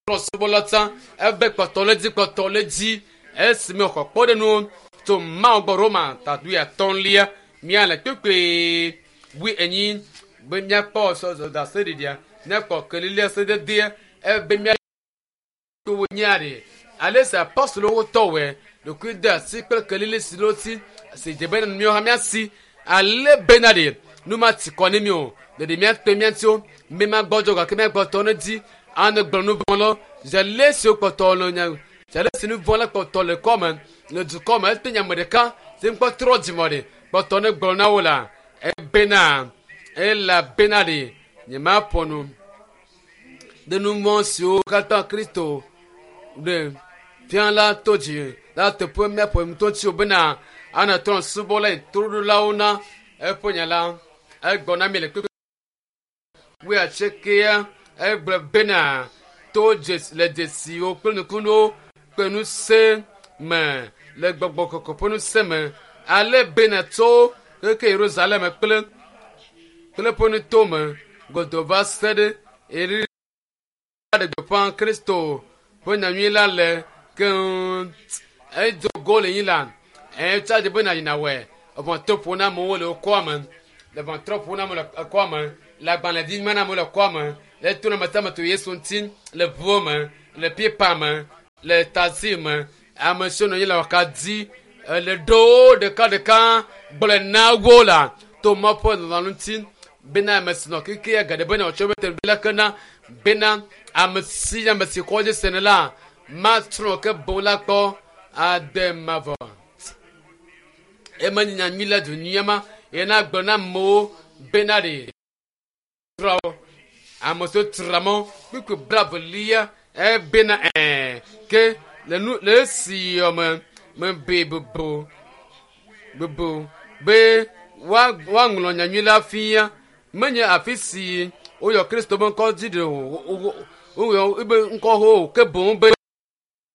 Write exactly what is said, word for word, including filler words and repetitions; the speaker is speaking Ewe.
Trɔ̃subɔla tsã ebe kpɔtɔ le dzi kpɔtɔ le dzi esime wòxɔ kpɔɖenuwo tso Mawu gbɔ Roma ta wuiatɔ̃lia míale kpekpe wuienyi be míakpɔ ɖaseɖiɖia míakpɔ kelilia sededea ebe mía wo nyia ɖe ale si apɔstolowo tɔwɔe ɖokui de asi kple kelili si ɖo si si dze bena míawo hã míasi ale bena ɖe nu ma ti kɔ ne mi o ɖeɖe míakpe mía ŋutiwo mi ma gbɔdzɔ gake míagbɔtɔ ne dzi ane gblɔ nu vɔ̃ lɔ zele siwo kpɔtɔ le nya zele si nu vɔ̃ la kpɔtɔ le kɔme le dukɔ me ete nyame ɖeka si ŋkpɔ trɔ dzimɔ ɖe kpɔtɔ ne gblɔ na wo la ebena elabena ɖe nyemaƒo nu ɖe nu vɔ̃ siwo katã Kristo ɖe fia la to dzi la teƒe míaƒo ŋutɔ tsi o bena ana trɔ̃subɔla toɖolawo na eƒe nya la egblɔ na mi le kpekpe wuiatsiekea egblɔ bena to dzesi le dzesiwo kple nukunuwo kple ŋusẽ me le gbɔgbɔ kɔkɔ ƒe ŋusẽ me ale bena tso keke Yerusalem kple kple ƒe nuto me godoo va se ɖe eri ɖe gbeƒã Kristo ƒe nyanyui la le keŋ edo go le nyi la etsa dzi bena yina wɔe eʋɔtrɔ ƒo na amewo le wokɔa me le ʋɔtrɔ ƒo na amewo le ekɔa me le agbalẽ dzi ma na amewo le kɔa me le to na ame sia ame to Yesu ŋuti le ʋuwo me le pipa me le taxi me ame siwo nɔ anyi le wɔka dzi le ɖowo ɖeka ɖeka gblɔe na wo la to Mawu ƒe lɔlɔ̃nu ŋuti bena ame si nɔ kekea geɖe bena wòtsɔ be teƒe la ke na bena ame si ame si kɔ dzi sene la matrɔ ke boŋ la kpɔ ade mavɔ eme nye nyanyui la du nyuia ma yena gblɔ na amewo bena ɖe trɔ ame siwo tra mɔ kpukpui blavelia ebena ɛɛ ke le nu le esi yɔme mebe bubu bubu be woa woaŋlɔ nyanyui la fia menye afi si woyɔ Kristo be ŋkɔ dzi ɖe o woyɔ ebe ŋkɔ ho o ke boŋ be